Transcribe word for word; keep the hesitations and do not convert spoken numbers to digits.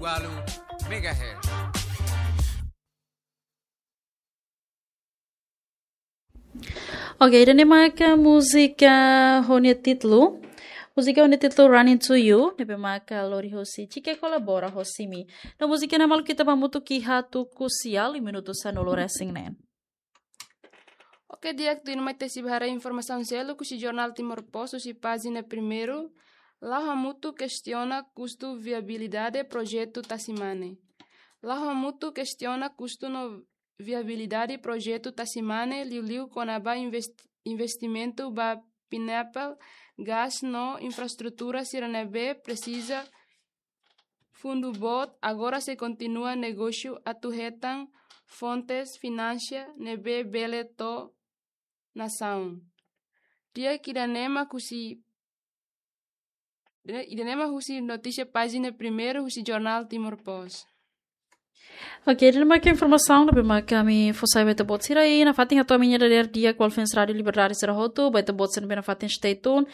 Walu megahertz. Oke, ida-ne'e maka múzika ho nia títulu. Múzika ho nia títulu Running to You, ne'ebé maka lori hosi Chike Kolabora ho Simi. No múzika ne'e maluk ita bá hamutuk iha tuku sia liu minutu sanulu resin neen. Oke, di'ak, tuirmai ita sei bá haree informasaun seluk husi Jornál Timor Post husi pájina primeiru. La'o hamutuk kestiona kustu viabilidade projetu Tasi Mane. La'o hamutuk kestiona kustu no viabilidade projetu Tasi Mane, liuliu kona-ba invest-, investimentu ba pineapple, gás no infraestrutura sira ne'ebé presiza fundu boot, agora sei kontinua negósiu atu hetan fontes finansia ne'ebé bele to'o nasaun. Di'ak, ida-ne'e mak husi, ida-ne'e mak husi notísia pájina primeiru husi Jornál Timor Post. Oke, ida-ne'e maka informasaun ne'ebé maka ami fó sai ba ita-boot sira, i nafatin hato'o ami-nia dadeer di'ak, Walfens Rádiu Liberdade sira hotu, ba ita-boot sira ne'ebé nafatin stay tune.